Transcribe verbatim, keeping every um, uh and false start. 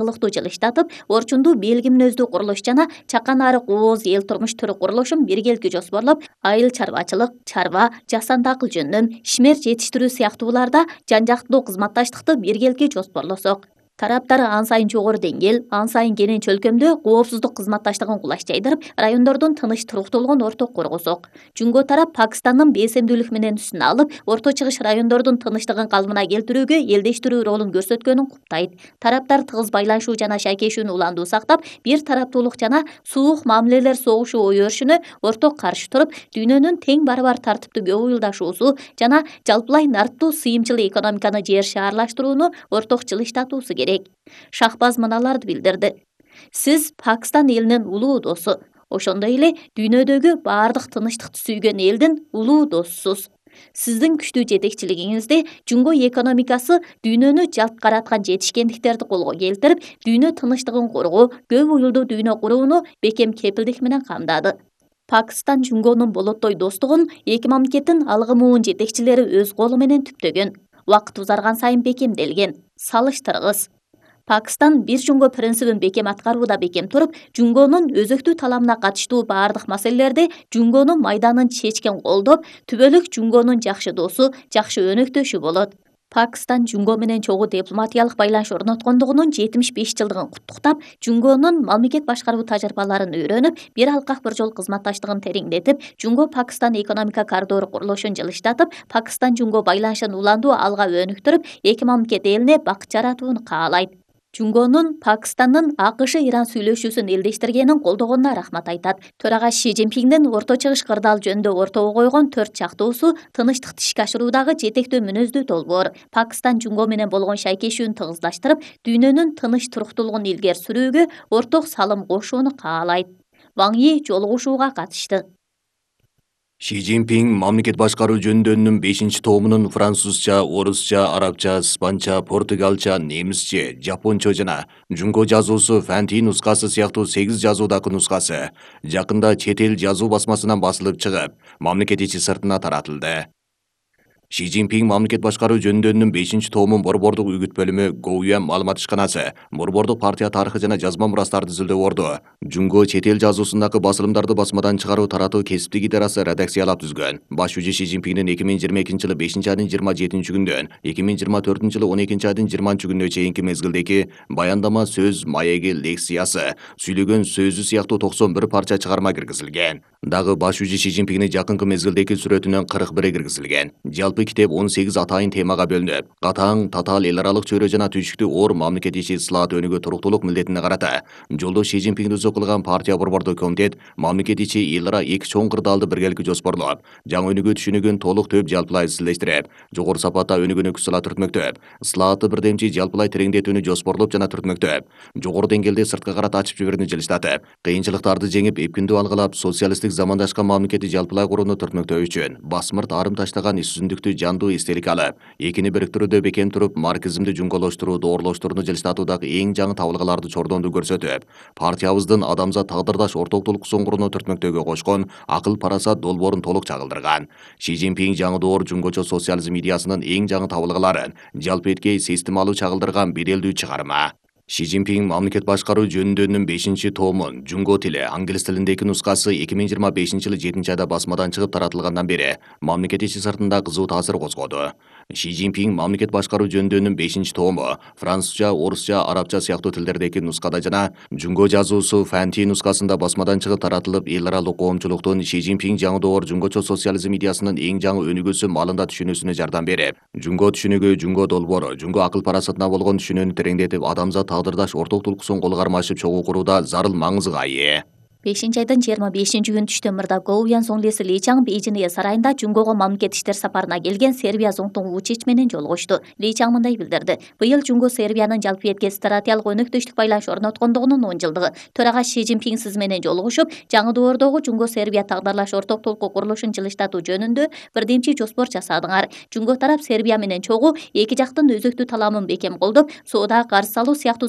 ылыктуу жылыштатып, орчундуу белги мүнөздүү курулуш жана чакан арык ооз эл турмуш түрү курулушун биргеликти жоспорлоп, айыл чарбачылык, чарба, жасанды акыл жөндөм, ишмер жетиштирүү сыяктууларда жан-жактуу кызматташтыкты биргеликти жоспорлосок, тараптар ан сайын жогору деңгээл, ан сайын кенен чөлкөмдө коопсуздук кызматташтыгын кулаш жайдырып, райондордун тыныч туруктуулугун орток коргосок. Жумго тарап Пакистандын бейсемдүүлүк менен үстүнө алып, Орто Чыгыш райондордун тынчтыгын калыбына келтирүүгө элдештирүү ролун көрсөткөнүн куттайт. Тараптар тыгыз байланышуу жана шайкешүүнү уландуу сактап, бир тараптуулук жана суук мамилелер согушу ой өрүшүнө орток каршы туруп, дүйнөнүн тең барабар тартиптүү көп уюлдашуусу жана жалпылай нарттуу сыйымчыл экономиканы жер шаарлаштырууну орток жылыштатуусу керек. Шахбаз мыналарды билдирди. Сиз Пакистан элинин улуу досу, ошондой эле дүйнөдөгү баардык тынчтыкты сүйгөн элдин улуу досусуз. Сиздин күчтүү жетекчилигиңизде Жумго экономикасы дүйнөнү жалт караткан жетишкендиктерди колго келтирип, дүйнө тынчтыгын коргоо, көп уюлдуу дүйнө курууну бекем кепилдик менен камдады. Пакистан Жумгонун болоттой достугун эки мамлекеттин алгымуун жетекчилери өз колу менен түптөгөн. Убакыт узарган сайын бекемделген. Салыштыргыс. Пакистан бир Жумго принцибин бекем аткарууда бекем туруп, Жумгонун өзөктүү таламына катыштуу баардык маселелерде Жумгонун майданын чечкен колдоп, түбөлүк Жумгонун жакшы досу, жакшы өнөктөшү болот. Пакистан Жумго менен чогуу дипломатиялык байланыш орноткондугунун жетимиш беш жылдыгын куттуктап, Жумгонун мамлекет башкаруу тажрыйбаларын үйрөнүп, бир алкак бир жол кызматташтыгын тереңдетип, Жумго-Пакистан экономика коридору курулушун жылыштатып, Пакистан-Жумго байланышын уландуу алга өнүктүрүп, эки мамлекет элине бакыт жаратууну каалайт. Жумгонун Пакистандын АКШ Иран сүйлөшүүсүн элдештиргенин колдогонуна рахмат айтат. Төрага Ши Цзиньпиндин Орто Чыгыш кырдаал жөнүндө ортого койгон төрт чактуусу тынчтыкты ишке ашыруудагы жетектөө мүнөздүү долбоор, Пакистан Жумго менен болгон шайкешүүнү тыгыздаштырып, дүйнөнүн тыныч туруктуулугун илгери сүрүүгө орток салым кошууну каалайт. Ван Йи жолугушууга катышты. Ши Цзиньпин мамлекет башкаруу жөндөмүнүн бешинчи томунун французча, орусча, арабча, испанча, португалча, немисче, жапончо жана Жумго жазуусу фэнти нускасы сыяктуу сегиз жазуудагы нускасы жакында чет эл жазуу басмасынан басылып чыгып, мамлекет ичи сыртына таратылды. Ши Цзиньпин мамлекет башкаруу жөндөмүнүн бешинчи томун борбордук үгүт бөлүмү Гоуян маалымат ишканасы борбордук партия тарыхы жана жазма мурастарды изилдөөгө Жумго чет эл жазуусундагы басылымдарды басмадан чыгаруу таратуу кесиптик идарасы редакциялап түзгөн. Баш жүзү Ши Цзиньпиндин эки миң жыйырма экинчи жылы бешинчи айдын жыйырма жетинчи күндөн эки миң жыйырма төртүнчү жылы он экинчи айдын жыйырманчы күнүнө чейинки мезгилдеги баяндама сөз, маеги, лекциясы, сүйлөгөн сөзү сыяктуу токсон бир парча чыгарма киргизилген. Дагы баш жүзү Ши Цзиньпиндин жакынкы мезгилдеги сүрөтүнөн кырк бири киргизилген. Жалпы китеп он сегиз атайын темага бөлүнүп, катаң, татаал эл аралык чөйрө жана түйшүктүү оор мамлекет ичи ислаат өнүгүү туруктуулук милдетине карата жолдош Ши Цзиньпинди өзү кылган партия борбордук комитет мамлекет ичи эл ара эки чоң кырдаалды биргеликти жоспорлоп, жаңы өнүгүү түшүнүгүн толук төп жалпылай изчилештирип, жогору сапатта өнүгүүнү күч сала түртмөктөп, ислаатты бирдемчи жалпылай тереңдетүүнү жоспорлоп жана түртмөктөп, жогору деңгээлде сырткы карата ачып жиберүүнү жылыштатып, кыйынчылыктарды жеңип, эпкиндүү алгылап, социалисттик замандашкан мамлекетти жалпылай курууну түртмөктөө үчүн басмырт арым таштаган иш жүзүндүктү жандуу эстелик алып, экини бириктирүүдө бекем туруп, марксизмди жумголоштуруу, доорлоштурууну жылыштатуудагы эң жаңы табылгаларды чордондуу көрсөтүп, партиябыздын адамзат тагдырдаш ортоктулук соңгуруну түртмөктөөгө кошкон акыл парасат долбоорун толук чагылдырган. Ши Цзиньпин жаңы доор жумгочо социализм идеясынын эң жаңы табылгаларын жалпы эткей системалуу чагылдырган беделдүү чыгарма. Ши Цзиньпин мамлекет башкаруу жөнүндөнүн бешинчи томун Жумго тили, англис тилиндеги нускасы эки миң жыйырма бешинчи жылы жетинчи айда басмадан чыгып таратылгандан бери мамлекет ичи сыртында кызуу таасир козгоду. Ши Цзиньпин мамлекет башкаруу жөнүндөнүн бешинчи тому французча, орусча, арабча сыяктуу тилдердеги нускада жана Жумго жазуусу фэнти нускасында басмадан чыгып таратылып, эл аралык коомчулуктун Ши Цзиньпин жаңы доор жумгочо социализм идеясынын эң жаңы өнүгүүсү маалында түшүнүүсүнө жардам берип, Жумго түшүнүгү, Жумго долбоору, Жумго акыл парасатына болгон түшүнүүнү тереңдетип, адамзат тагдырдаш ортоктулуксун колго кармашып чогуу курууда зарыл маңызга ээ. бешинчи айдын жыйырма бешинчи күнү түштөн мырда Гоуян соңлеси Ли Чаң Бейжиң сарайында Жумгого мамлекет иштер сапарына келген Сербия зоңтуң Вучич менен жолугушту. Ли Чаң мындай билдирди. Быйыл Жумго Сербиянын жалпы этке стратегиялык өнөктөштүк байланыш орноткондугунун он жылдыгы. Төрага Ши Цзиньпин сиз менен жолугушуп, жаңы доордогу Жумго Сербия тагдырлаш ортоктулукку курулушун жылыштатуу жөнүндө бирдемчи жоспор жасадыңар. Жумго тарап Сербия менен чогуу эки жактын өзөктүү таламын бекем колдоп, соода карыз салуу сыяктуу